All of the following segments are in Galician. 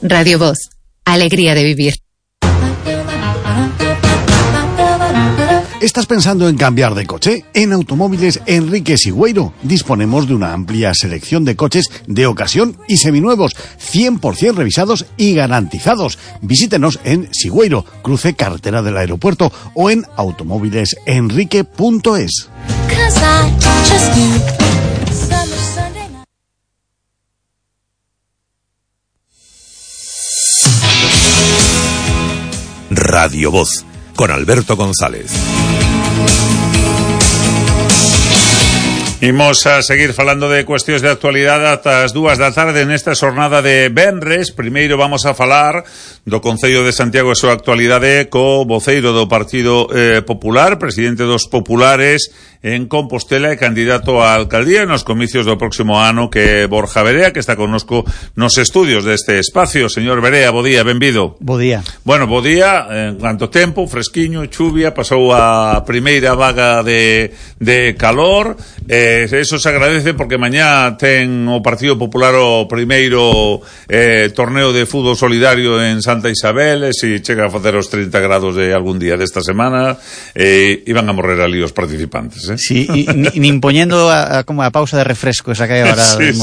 Radio Voz, alegría de vivir. ¿Estás pensando en cambiar de coche? En Automóviles Enrique Sigüeiro disponemos de una amplia selección de coches de ocasión y seminuevos, 100% revisados y garantizados. Visítenos en Sigüeiro, cruce carretera del aeropuerto, o en automóvilesenrique.es. Radio Voz, con Alberto González. Imos a seguir falando de cuestións de actualidade ata as 2 da tarde nesta xornada de venres. Primeiro vamos a falar do Concello de Santiago e a súa actualidade co voceiro do Partido Popular, presidente dos Populares en Compostela e candidato á alcaldía nos comicios do próximo ano, que é Borja Verea, que está connosco nos estudios deste espacio. Señor Verea, bo día, benvido. Bo día. Bueno, bo día, en cuanto tempo, fresquiño, chuvia, pasou a primeira vaga de calor, eso se agradece porque mañá ten o Partido Popular o primeiro torneo de fútbol solidario en Santa Isabel, e se chega a facer os 30 grados de algún día desta semana, iban a morrer ali os participantes, Sí, nin poñendo como a pausa de refresco esa que hai agora. Sí.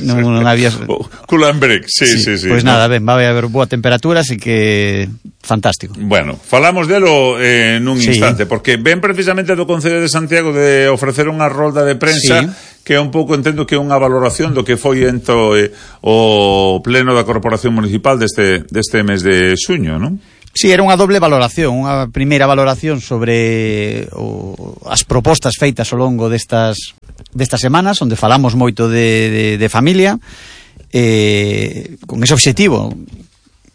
Non había... Cool and break, sí. Pois nada, ben, vai haber boa temperatura, así que fantástico. Bueno, falamos delo nun instante, porque ven precisamente do Concello de Santiago de ofrecer unha rolda de prensa, que é un pouco, entendo que é unha valoración do que foi ento o pleno da Corporación Municipal deste mes de xuño, non? Sí, era unha doble valoración. Unha primeira valoración sobre as propostas feitas ao longo destas semanas, onde falamos moito de familia, con ese obxectivo.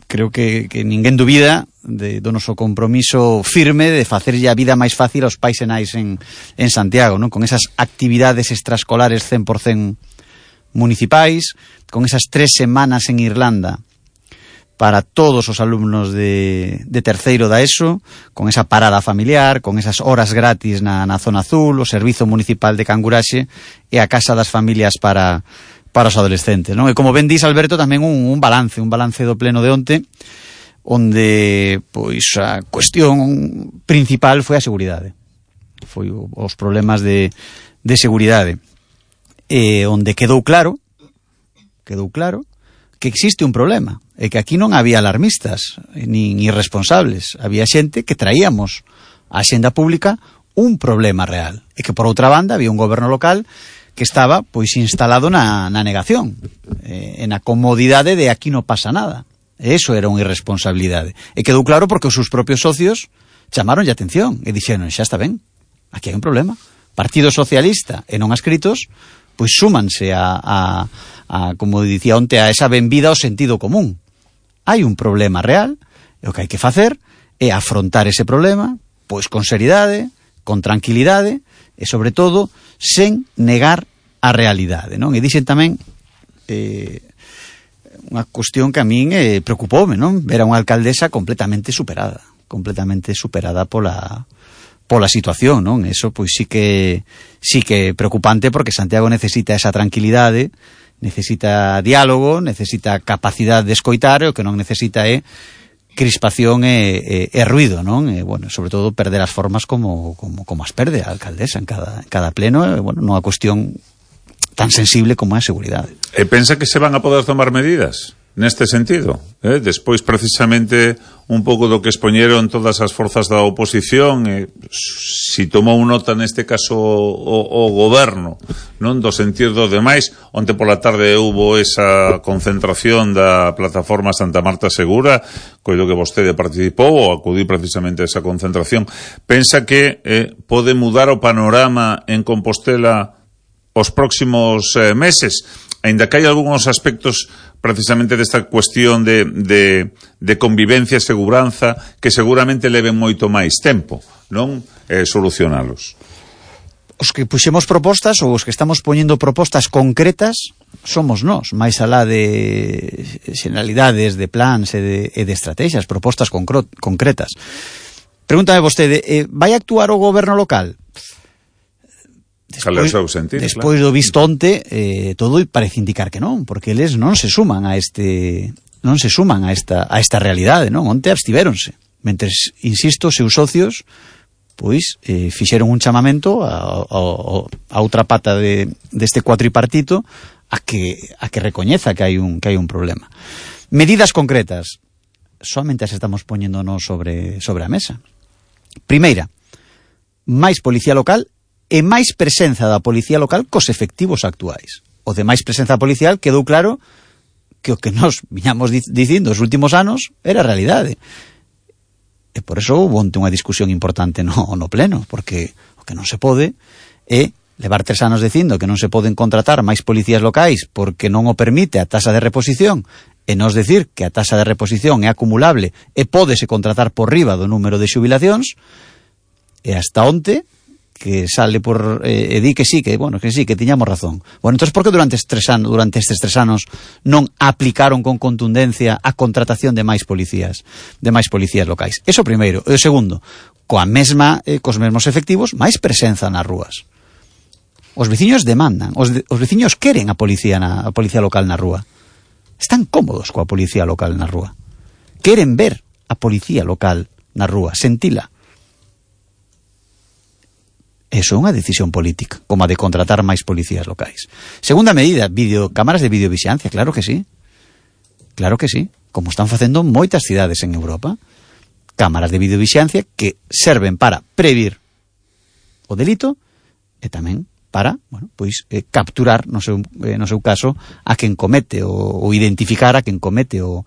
Creo que ninguén dubida do noso compromiso firme de facerlle a vida máis fácil aos pais e nais en Santiago, non? Con esas actividades extraescolares 100% municipais, con esas 3 semanas en Irlanda para todos os alumnos de terceiro da ESO, con esa parada familiar, con esas horas gratis na zona azul, o Servizo Municipal de Canguraxe e a Casa das Familias para os adolescentes, non? E como ben dis, Alberto, tamén un balance do pleno de onte, onde pois a cuestión principal foi a seguridade. Foi os problemas de seguridade. Onde quedou claro que existe un problema, e que aquí non había alarmistas nin irresponsables, había xente que traíamos á axenda pública un problema real, e que por outra banda había un goberno local que estaba pois instalado na negación, na comodidade de aquí non pasa nada. E iso era unha irresponsabilidade, e quedou claro porque os seus propios socios chamaronlle atención e dixeron, xa está ben, aquí hai un problema. Partido Socialista e non adscritos pois súmanse a como dicía onte, a esa benvida ao sentido común. Hai un problema real, e o que hai que facer é afrontar ese problema, pois con seriedade, con tranquilidade, e sobre todo, sen negar a realidade, non? E dixen tamén unha cuestión que a min preocupoume, non? Ver a unha alcaldesa completamente superada pola situación, non? Eso pois sí que é preocupante, porque Santiago necesita esa tranquilidade, necesita diálogo, necesita capacidade de escoitar, e o que non necesita é crispación e ruido, non? E, bueno, sobre todo perder as formas como as perde a alcaldesa en cada pleno, bueno, nunha cuestión tan sensible como é a seguridade. E pensa que se van a poder tomar medidas neste sentido, despois precisamente un pouco do que expoñeron todas as forzas da oposición, si tomou nota neste caso o goberno, non do sentir dos demais. Onte pola tarde hubo esa concentración da plataforma Santa Marta Segura, coido que vostede participou ou acudí precisamente a esa concentración. Pensa que pode mudar o panorama en Compostela os próximos meses, aínda que hai algúns aspectos precisamente desta cuestión de convivencia e seguranza que seguramente leven moito máis tempo, non? Solucionalos. Os que puxemos propostas, ou os que estamos poñendo propostas concretas, somos nós, máis alá de xeneralidades, de plans e de estrategias, propostas concretas. Pregúntame vostede, vai actuar o goberno local? Despois do visto onte, todo parece indicar que non, porque eles non se suman a este non se suman a esta realidade, non? Onte abstivéronse, mentres, insisto, seus socios pois fixeron un chamamento a outra pata deste cuatripartito a que recoñeza que hai un problema. Medidas concretas, somente as estamos poñéndonos sobre a mesa. Primeira, máis policía local e máis presenza da policía local cos efectivos actuais. O de máis presenza policial quedou claro que o que nos viñamos dicindo os últimos anos era realidade. E por eso houve onte unha discusión importante no pleno, porque o que non se pode é levar 3 anos dicindo que non se poden contratar máis policías locais porque non o permite a taxa de reposición, e nos decir que a taxa de reposición é acumulable e pódese contratar por riba do número de xubilacións, e hasta onte que sale por e di que sí, que tiñamos razón. Bueno, entonces por que durante estes 3 anos non aplicaron con contundencia a contratación de máis policías locais? Eso primeiro. E o segundo, cos mesmos efectivos, máis presenza nas rúas. Os veciños demandan, os veciños queren a policía local na rúa. Están cómodos coa policía local na rúa. Queren ver a policía local na rúa, sentila. Eso é unha decisión política, como a de contratar máis policías locais. Segunda medida, cámaras de videovixiancia, claro que sí. Claro que sí, como están facendo moitas cidades en Europa. Cámaras de videovixiancia que serven para previr o delito e tamén para, capturar no seu caso a quen comete ou identificar a quen comete o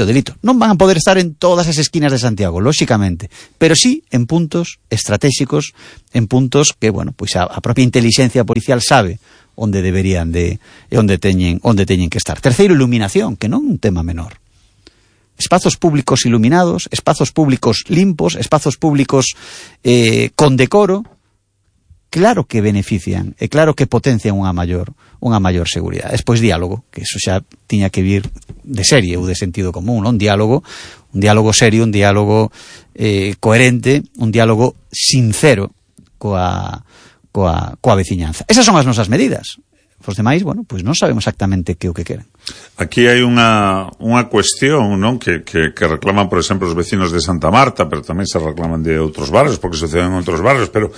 delito. Non van a poder estar en todas as esquinas de Santiago, lóxicamente, pero sí en puntos estratégicos, en puntos que, a propia inteligencia policial sabe onde deberían onde teñen que estar. Terceiro, iluminación, que non é un tema menor. Espazos públicos iluminados, espazos públicos limpos, espazos públicos con decoro, claro que benefician e claro que potencian unha maior seguridade. Despois diálogo, que eso xa tiña que vir de serie ou de sentido común, non? Un diálogo serio, un diálogo coherente, un diálogo sincero coa veciñanza. Esas son as nosas medidas. Os demais, non sabemos exactamente que o que queren. Aquí hai unha cuestión, non, que reclaman, por exemplo, os vecinos de Santa Marta, pero tamén se reclaman de outros barrios, porque suceden en outros barrios, pero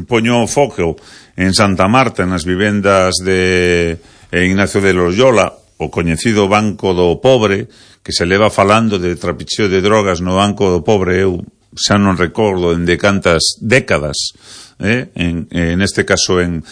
poño o foco en Santa Marta, nas vivendas de Ignacio de Loyola, o coñecido Banco do Pobre, que se leva falando de trapicheo de drogas no Banco do Pobre, eu xa non recordo en de cantas décadas, en este caso en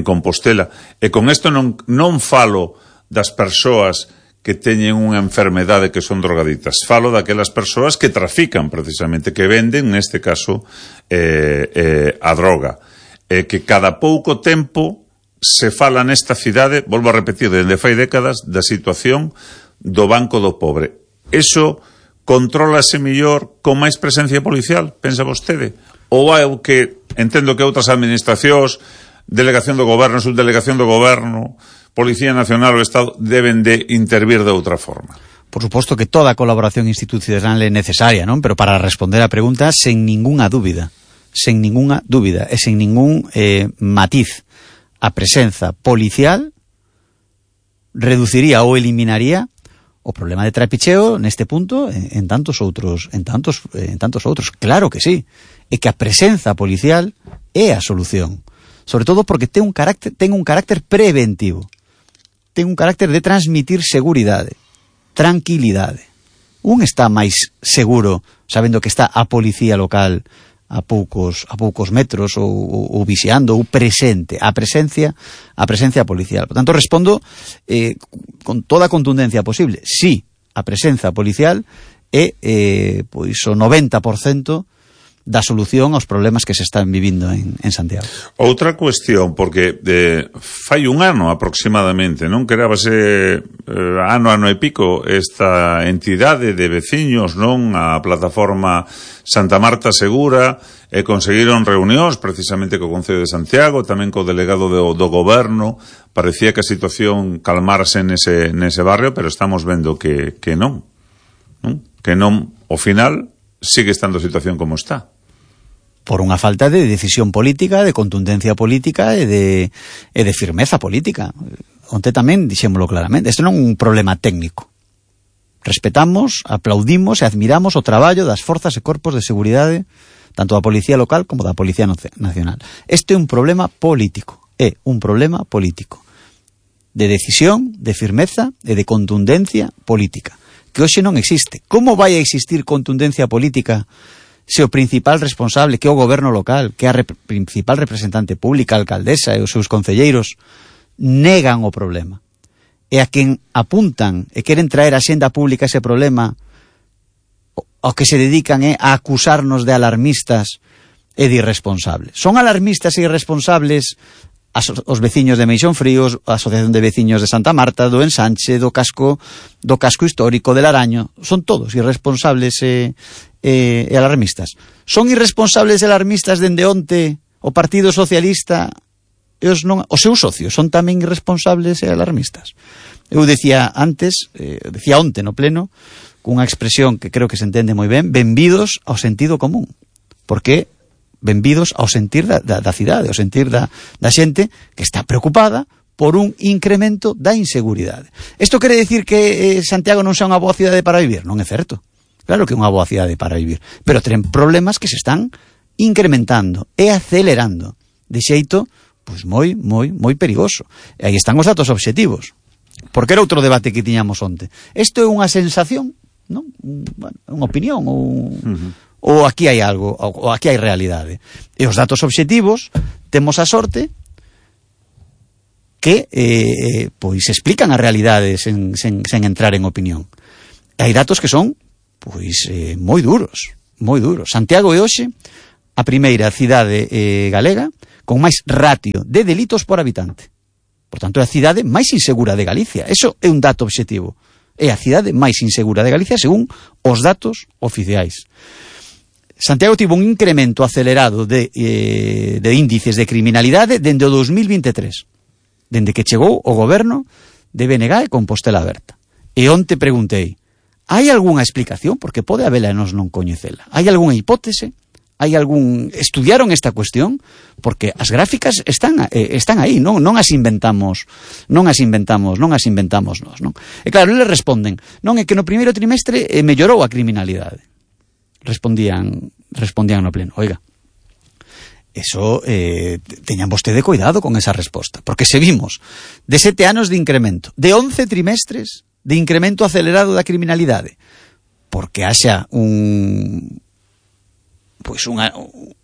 Compostela, e con isto non falo das persoas que teñen unha enfermedade que son drogaditas, falo daquelas persoas que trafican precisamente, que venden neste caso a droga, que cada pouco tempo se fala nesta cidade, volvo a repetir, dende fai décadas, da situación do Banco do Pobre. Eso contrólase mellor con máis presencia policial, pensa vostede? Ou é o que entendo que outras administracións, delegación do goberno, subdelegación do goberno, Policía Nacional ou Estado deben de intervir de outra forma? Por suposto que toda a colaboración institucional é necesaria, non? Pero para responder a pregunta, sen ningunha dúbida e sen ningún matiz, a presenza policial reduciría ou eliminaría o problema de trapicheo neste punto en tantos outros. Claro que sí. E que a presenza policial é a solución. Sobre todo porque ten un carácter preventivo. Ten un carácter de transmitir seguridade, tranquilidade. Un está máis seguro sabendo que está a policía local a poucos metros ou vixiando ou presente, a presencia policial. Por tanto, respondo con toda a contundencia posible. Sí, a presenza policial é o 90% da solución aos problemas que se están vivindo en Santiago. Outra cuestión, porque fai un ano aproximadamente, non querábase ano e pico esta entidade de veciños, non, a plataforma Santa Marta Segura, e conseguiron reunións precisamente co Concello de Santiago, tamén co delegado do goberno. Parecía que a situación calmarse nese barrio, pero estamos vendo que non, ao final sigue estando a situación como está. Por unha falta de decisión política, de contundencia política e de firmeza política. onte tamén dixémolo claramente, isto non é un problema técnico. Respetamos, aplaudimos e admiramos o traballo das forzas e corpos de seguridade, tanto da Policía Local como da Policía Nacional. Este é un problema político, de decisión, de firmeza e de contundencia política, que hoxe non existe. Como vai a existir contundencia política se o principal responsable, que é o goberno local, que é a principal representante pública, a alcaldesa e os seus concelleiros, negan o problema? E a quen apuntan e queren traer a xenda pública ese problema, ao que se dedican é a acusarnos de alarmistas e de irresponsables. Son alarmistas e irresponsables os veciños de Meixón Fríos, a Asociación de Veciños de Santa Marta, do Ensanche, do casco histórico de Laraño. Son todos irresponsables e alarmistas. Son irresponsables e alarmistas dende onte o Partido Socialista e os seus socios son tamén irresponsables e alarmistas. Eu decía onte no pleno, cunha expresión que creo que se entende moi ben, benvidos ao sentido común. Porque benvidos ao sentir da cidade, ao sentir da xente que está preocupada por un incremento da inseguridade. Isto quere dicir que Santiago non sea unha boa cidade para vivir? Non é certo. Claro que é unha boa cidade para vivir, pero ten problemas que se están incrementando e acelerando de xeito pois moi perigoso. E aí están os datos obxectivos. Porque era outro debate que tiñamos onte. Isto é unha sensación, non? Unha opinión ou aquí hai algo, ou aquí hai realidade. E os datos obxectivos temos a sorte que pois explican a realidade sen entrar en opinión. E hai datos que son pois moi duros. Santiago é hoxe a primeira cidade galega con máis ratio de delitos por habitante. Por tanto, é a cidade máis insegura de Galicia. Eso é un dato obxectivo. É a cidade máis insegura de Galicia según os datos oficiais. Santiago tivo un incremento acelerado de índices de criminalidade dende o 2023, dende que chegou o goberno de BNG e Compostela Aberta. E onte preguntei, hai algunha explicación? Porque pode habela e nós non coñecela. Hai algunha hipótese? Estudiaron esta cuestión? Porque as gráficas están aí, non as inventamos nós, non? E claro, eles responden, non é que no primeiro trimestre mellorou a criminalidade. Respondían no pleno, oiga, eso teñan vostede cuidado con esa resposta, porque se vimos de 7 anos de incremento, de 11 trimestres de incremento acelerado da criminalidade, porque haxa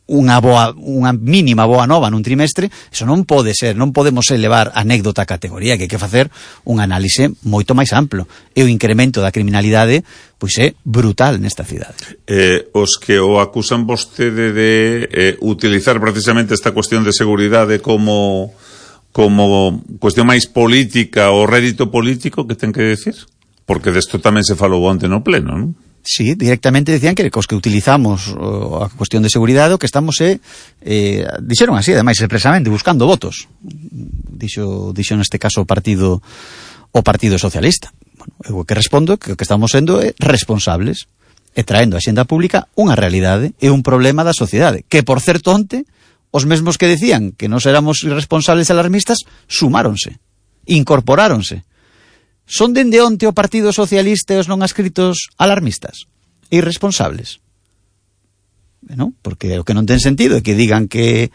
unha mínima boa nova nun trimestre, eso non pode ser, non podemos elevar anécdota a categoría, que hai que facer un análise moito máis amplo. E o incremento da criminalidade pois é brutal nesta cidade. Os que o acusan vostede de utilizar precisamente esta cuestión de seguridade como cuestión máis política ou rédito político, que ten que decir? Porque desto tamén se falou onte no pleno, non? Sí, directamente decían que os que utilizamos a cuestión de seguridade o que estamos dixeron así, ademais expresamente, buscando votos. Dixo neste caso o Partido Socialista. Bueno, eu que respondo que o que estamos sendo é responsables e traendo a xenda pública unha realidade e un problema da sociedade, que por certo onte os mesmos que decían que nós éramos irresponsables e alarmistas sumáronse, incorporáronse. Son dende onte o Partido Socialista e os non adscritos alarmistas e irresponsables? Non? Porque o que non ten sentido é que digan que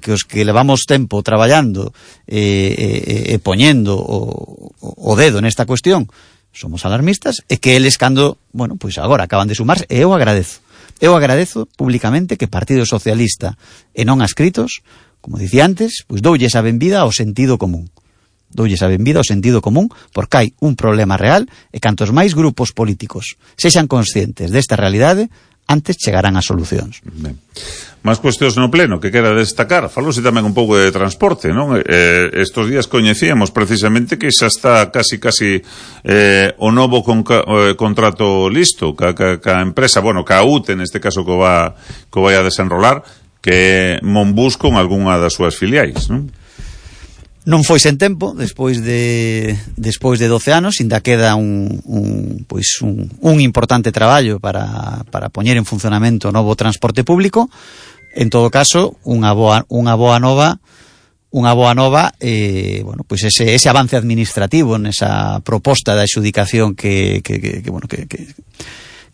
os que levamos tempo traballando e poñendo o dedo nesta cuestión somos alarmistas e que eles cando, pois agora acaban de sumarse, e eu agradezo públicamente que Partido Socialista e non adscritos, como dicía antes, pois doulles a benvida ao sentido común. Porque hai un problema real e cantos máis grupos políticos sexan conscientes desta realidade, antes chegarán as solucións. Ben. Más cuestións no pleno que quera destacar. Falouse tamén un pouco de transporte, non? Estos días coñecíamos precisamente que xa está casi o novo contrato listo ca empresa, ca UTE neste caso que vai a desenrolar, que é Monbus con algunha das súas filiais, non? Non foi sen tempo, despois de 12 anos, ainda queda un importante traballo para poñer en funcionamento o novo transporte público. En todo caso, unha boa nova unha boa nova, bueno, pois ese avance administrativo nesa proposta de adxudicación que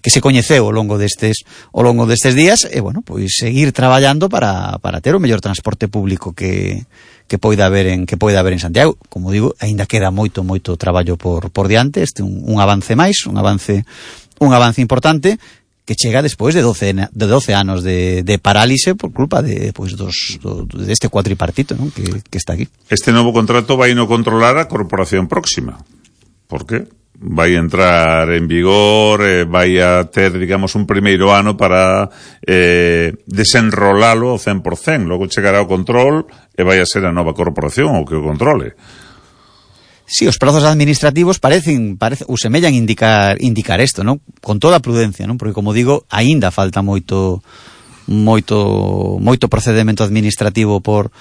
se coñeceu ao longo destes días, e bueno, pois seguir traballando para ter o mellor transporte público que poida haber en Santiago. Como digo, aínda queda moito traballo por diante. Este un avance máis, un avance importante, que chega despois de 12 anos de parálise por culpa deste cuatripartito, non? Que está aquí. Este novo contrato vai no controlar a corporación próxima. Por qué? Vai entrar en vigor, vai a ter, digamos, un primeiro ano para desenrolalo ao 100%. Logo chegará o control e vai a ser a nova corporación o que o controle. Sí, os prazos administrativos parecen ou semellan indicar isto, non? Con toda a prudencia, non? Porque, como digo, aínda falta moito procedimento administrativo por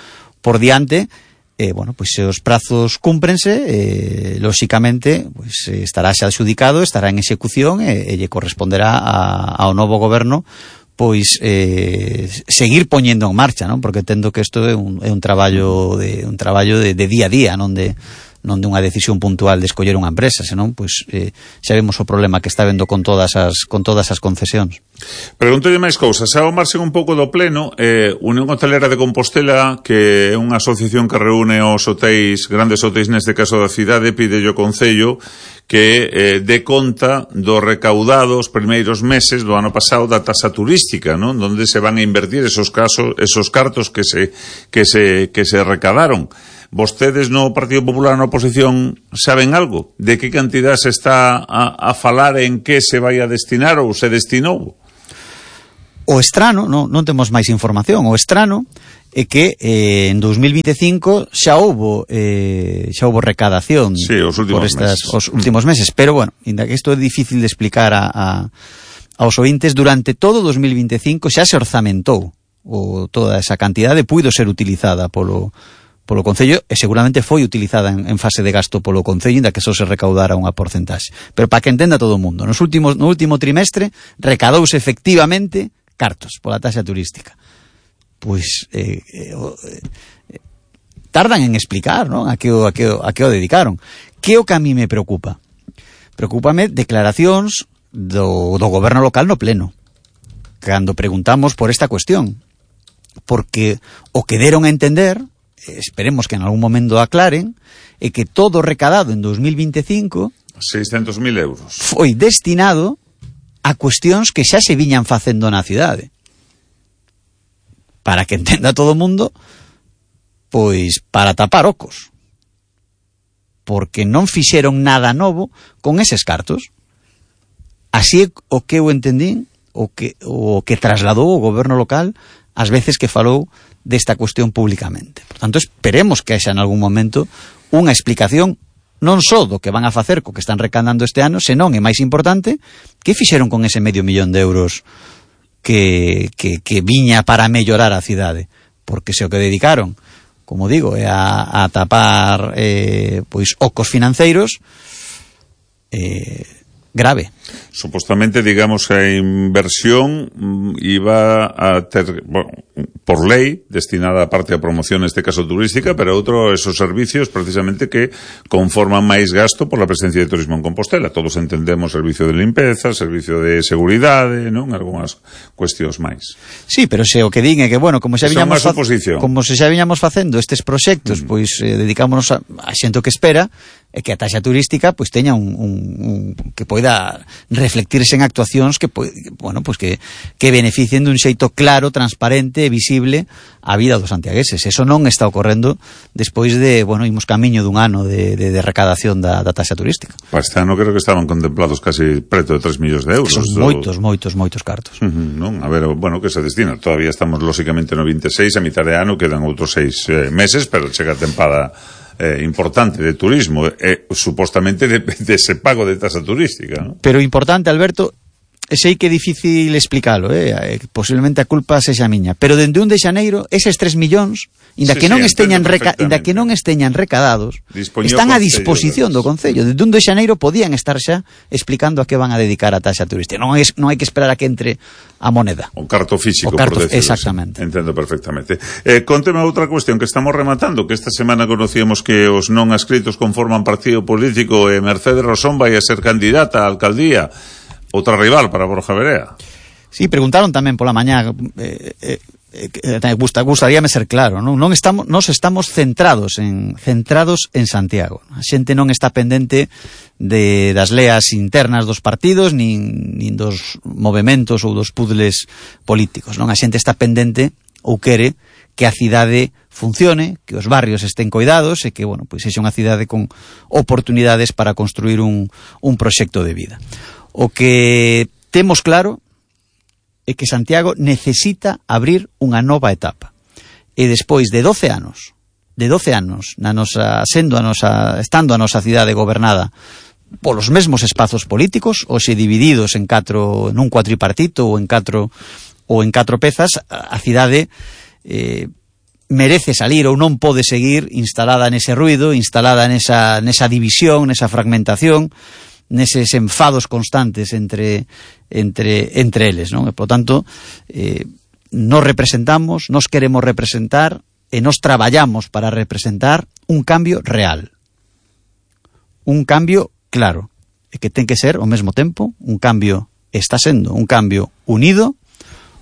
diante. Bueno, pois se os prazos cúmprense, lóxicamente, pois estará xa adxudicado, estará en execución e lle corresponderá ao novo goberno pois seguir poñendo en marcha, non? Porque entendo que isto é un traballo de día a día, non de unha decisión puntual de escoller unha empresa, senón pois xa vemos o problema que está vendo con todas as concesións. Pregúntolle máis cousas. Ao marxen un pouco do pleno, Unión Hotelera de Compostela, que é unha asociación que reúne os hotéis, grandes hotéis neste caso da cidade, pide o Concello que dé conta do recaudado os primeiros meses do ano pasado da tasa turística, non? Donde se van a invertir esos cartos que se recadaron. Vostedes no Partido Popular na oposición saben algo? De que cantidad se está a falar, en que se vai a destinar ou se destinou? O estrano, non temos máis información, o estrano é que en 2025 xa houbo recadación, sí, os últimos meses, pero bueno, ainda que isto é difícil de explicar aos ointes, durante todo 2025 xa se orzamentou toda esa cantidade puido ser utilizada polo Concello, e seguramente foi utilizada en fase de gasto polo Concello, inda que só se recaudara unha porcentaxe. Pero para que entenda todo o mundo, no último trimestre recadouse efectivamente cartos pola taxa turística. Pois tardan en explicar, non? A que o dedicaron. Que o que a mí me preocupa? Preocúpame declaracións do goberno local no pleno, cando preguntamos por esta cuestión, porque o que deron a entender, esperemos que en algún momento aclaren, é que todo recadado en 2025 600.000 euros foi destinado a cuestións que xa se viñan facendo na cidade. Para que entenda todo o mundo, pois para tapar ocos, porque non fixeron nada novo con eses cartos. Así é o que eu entendín, o que trasladou o goberno local as veces que falou desta cuestión públicamente. Por tanto, esperemos que haxa en algún momento unha explicación non só do que van a facer co que están recaudando este ano, senón, é máis importante, que fixeron con ese $500.000 que viña para mellorar a cidade. Porque se o que dedicaron, como digo, é a tapar pois ocos financeiros, grave. Supostamente, digamos, a inversión iba a ter, bueno, por lei, destinada a parte a promoción, neste caso turística, pero outro, esos servicios, precisamente, que conforman máis gasto por la presencia de turismo en Compostela. Todos entendemos servicio de limpeza, servicio de seguridade, non? Algúnas cuestións máis. Sí, pero se o que din é que, bueno, como se xa viñamos facendo estes proxectos, pois dedicámonos a xente que espera, e que a taxa turística pois teña un que poida reflectirse en actuacións que, bueno, pois que beneficien dun xeito claro, transparente e visible a vida dos santiagueses. Eso non está ocorrendo despois de, bueno, imos camiño dun ano de recadación da taxa turística. Para este ano creo que estaban contemplados casi preto de 3 millóns de euros. Son moitos cartos. Non, a ver, bueno, que se destina. Todavía estamos lógicamente no 26, a mitad de ano quedan outros 6 meses, pero chega a tempada importante de turismo, supostamente de ese pago de tasa turística, ¿no? Pero importante, Alberto, sei que é difícil explicalo, posiblemente a culpa sexa miña, pero dende 1 de xaneiro eses 3 millóns, inda que non esteñan recadados, están a disposición do Concello. Dende 1 de xaneiro podían estar xa explicando a que van a dedicar a taxa turística. Non hai que esperar a que entre a moneda. O carto físico, por decirlo. Exactamente. Entendo perfectamente. Conteme outra cuestión que estamos rematando, que esta semana conocíamos que os non adscritos conforman partido político e Mercedes Rosón vai a ser candidata á alcaldía. Outra rival para Borja Verea. Sí, preguntaron tamén pola mañá, gustaríame ser claro, non estamos centrados en Santiago. A xente non está pendente das leas internas dos partidos, nin dos movementos ou dos puzzles políticos, non? A xente está pendente ou quere que a cidade funcione, que os barrios estén coidados e que, bueno, pois sexa unha cidade con oportunidades para construir un proxecto de vida. O que temos claro é que Santiago necesita abrir unha nova etapa. E despois de 12 anos, estando a nosa cidade gobernada polos mesmos espazos políticos, hoxe divididos nun cuatripartito ou en catro pezas, a cidade merece salir ou non pode seguir instalada nese ruido, instalada nesa división, nesa fragmentación, neses enfados constantes entre eles, non? E, por tanto, nos representamos, nos queremos representar e nos traballamos para representar un cambio real, un cambio claro, e que ten que ser ao mesmo tempo un cambio, está sendo un cambio unido,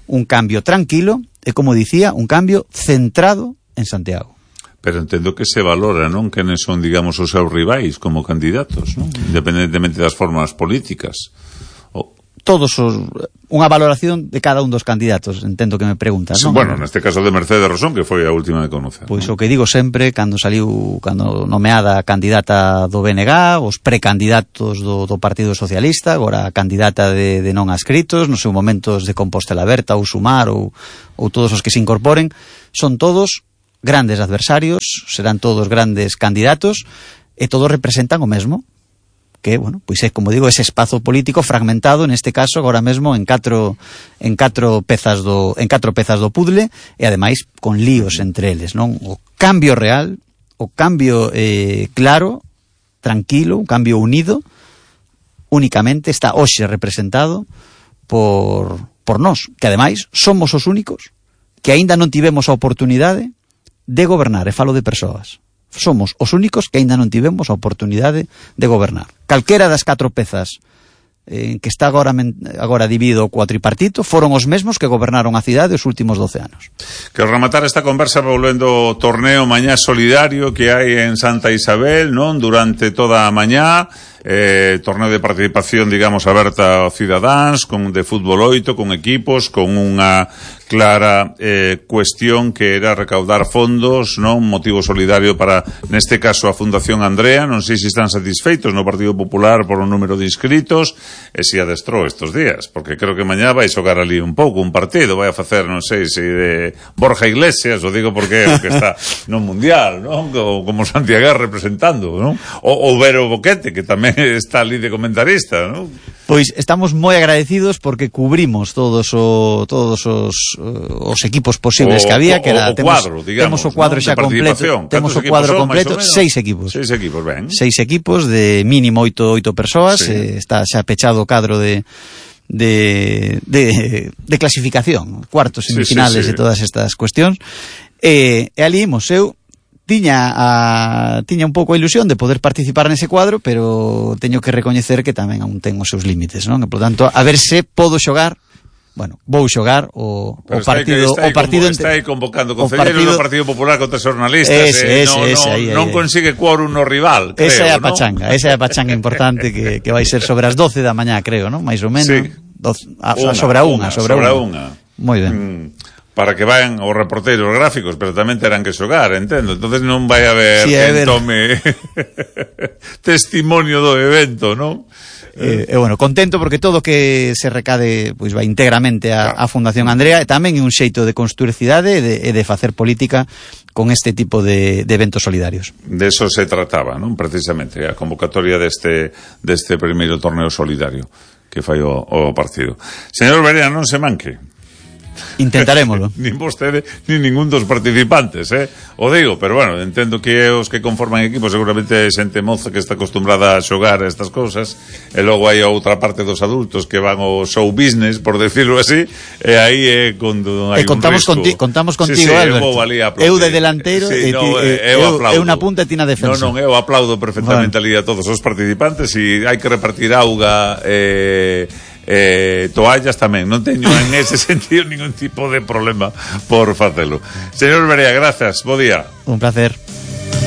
un cambio tranquilo e, como dicía, un cambio centrado en Santiago. Pero entendo que se valora, non? Quenes son, digamos, os seus rivais como candidatos, non? Independentemente das formas políticas. Unha valoración de cada un dos candidatos, entendo que me preguntas, non? Bueno, neste caso de Mercedes Rosón, que foi a última de conocer. Pois o que digo sempre, cando nomeada candidata do BNG, os precandidatos do Partido Socialista, agora a candidata de non adscritos, nos seus momentos de Compostela Aberta ou Sumar ou todos os que se incorporen, son todos grandes adversarios, serán todos grandes candidatos e todos representan o mesmo, que, bueno, pois é, como digo, ese espazo político fragmentado, neste caso, agora mesmo en catro pezas do puzzle e, ademais, con líos entre eles, non? O cambio real, o cambio claro, tranquilo, un cambio unido, únicamente está hoxe representado por nós, que, ademais, somos os únicos que aínda non tivemos a oportunidade de gobernar, e falo de persoas. Somos os únicos que aínda non tivemos a oportunidade de gobernar. Calquera das 4 pezas que está agora dividido o cuatripartito foron os mesmos que gobernaron a cidade os últimos 12 anos. Que rematar esta conversa volvendo ao torneo Mañá Solidario que hai en Santa Isabel, non? Durante toda a mañá, torneo de participación, digamos, aberta aos cidadáns, de fútbol 8, con equipos, con unha clara cuestión que era recaudar fondos, non? Un motivo solidario para, neste caso, a Fundación Andrea. Non sei se están satisfeitos no Partido Popular por o número de inscritos e se adestrou estes días, porque creo que mañá vai xogar ali un pouco, un partido, vai a facer, non sei se de Borja Iglesias, o digo porque está no Mundial, non? Como Santiago representando, non? Ou Vero Boquete, que tamén está ali de comentarista, non? Pois estamos moi agradecidos porque cubrimos todos os equipos posibles que había, que era temos o cuadro xa completo, temos o cuadro completo, 6 equipos. 6 equipos, ben. 6 equipos de mínimo 8 persoas, sí. Está xa pechado o cadro de clasificación, cuartos, semifinales e todas estas cuestións. E ali imos, eu tiña un pouco a ilusión de poder participar nese cuadro, pero teño que recoñecer que tamén aún ten os seus límites, non? E, por tanto, a ver se podo xogar. Bueno, vou xogar o partido está aí convocando concelleros do Partido Popular contra xornalistas, non consigue quórum no rival, creo, esa é a pachanga importante que vai ser sobre as 12 da mañá, creo, non? Mais ou menos, sí. Sobre a unha. Moi ben. Para que vayan os reporteros gráficos, pero tamén terán que xogar, entendo. Entonces non vai haber quen tome testimonio do evento, non? Bueno, contento porque todo que se recade pois vai íntegramente a Fundación Andrea, e tamén é un xeito de construir cidade e de facer política con este tipo de eventos solidarios. De eso se trataba, non? Precisamente, a convocatoria deste primeiro torneo solidario. fai o partido. Señor Berea, non se manque. Intentarémolo. Nin vostede, nin ningún dos participantes, o digo, pero bueno, entendo que os que conforman equipo seguramente é xente moza que está acostumbrada a xogar a estas cousas, e logo hai a outra parte dos adultos que van ao show business, por decirlo así, e aí é cando hai un risco. Contamos contigo, Alberto. Eu de delanteiro, eu na punta e ti na defensa. Non, eu aplaudo perfectamente ali a todos os participantes, e hai que repartir auga toallas tamén, non teño en ese sentido ningún tipo de problema por facelo. Señor Berea, grazas, bo día. Un placer.